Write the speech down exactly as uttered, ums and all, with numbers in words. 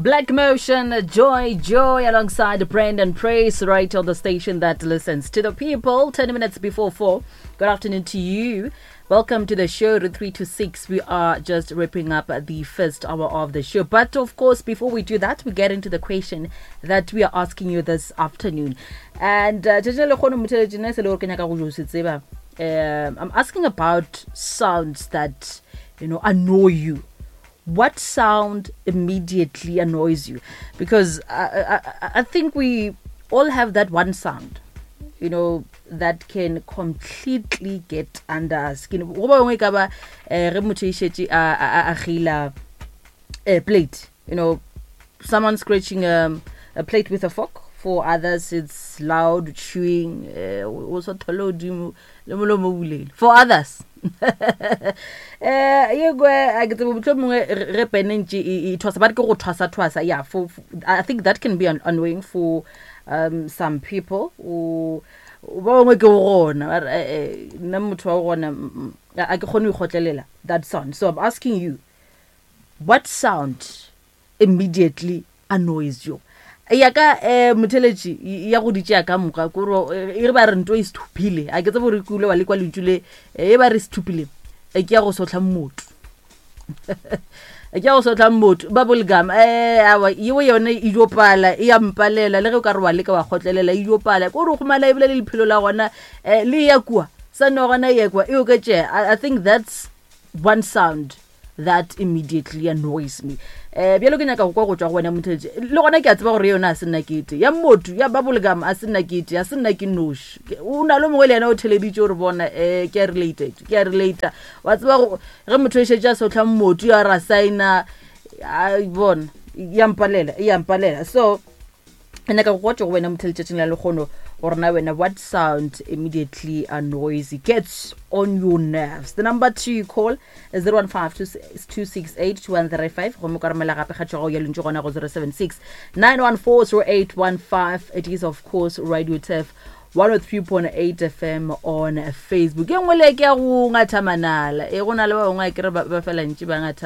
Black Motion, Joy Joy, alongside Brandon Praise, right on the station that listens to the people. ten minutes before four. Good afternoon to you. Welcome to the show, three to six. We are just wrapping up the first hour of the show. But of course, before we do that, we get into the question that we are asking you this afternoon. And uh, um, I'm asking about sounds that, you know, annoy you. What sound immediately annoys you? Because I, I, I think we all have that one sound, you know, that can completely get under our skin. Go ba bangwe e ka ba eh, ge motho e šetše a a- a gila a plate, you know, someone scratching um, a plate with a fork. For others, it's loud chewing. eh, o sa thole godimo le molomo o bulegile. For others, eh ye kwe a ke tsebe mohlomongwe ge ge pene ntše e e thwasa, ba re ke go thwasa thwasa. Yeah, for, for I think that can be an annoying for um some people. O ba bangwe ke gona ba re, eh, eh, nna motho wa gona mm, mm, a ke kgone go ikgotlelela that sound. So I'm asking you, what sound immediately annoys you? Ya ka um motheletši ya go ditšea ka moka kore e re ba re nto e sethuphile, a ke tsebe gore ke ile wa le kwa lentšu le, e ba re sethuphile, e ke ya go sotlha motho, ke ya go sotlha motho bubblegum. um awa, yeo yone e dio pala, e ya mpalela le ge o ka re wa leka wa kgotlelela, e dio pala kore o gomana ebile le lephelo la gona um le ya kua sa no gona e ya kua e oketšega. I, I think that's one sound that immediately annoys me. um bjalo ke nyaka go kwa go tšwa go wena motheletši. Le gona ke a tseba gore yona a se nna kete ya motho ya bubblegum, a se nna kete, a se nna ke noši. Ke- o na le mongwe le yena o theleditše gore bona um ke a related, ke a relata. Wa tseba go- ge motho e šetše a sotlha motho ya ra signa a bona ya mpalela, e ya mpalela. So ke nyaka go kwa tšwa go wena motheletšatšing la lekgono gore na wena, what sound immediately annoys you, gets on your nerves? The number to call is zero one five two six eight two one three five, gomme ka romela gape kgatšego ya lentšu gona go zero seven six nine one four zero eight one five. It is of course Radio Turf one oh three point eight F M on Facebook. E nngwe le ke ya go ngatha manala, e go na le ba bangwe a kere ba ba fela ntše ba ngatha.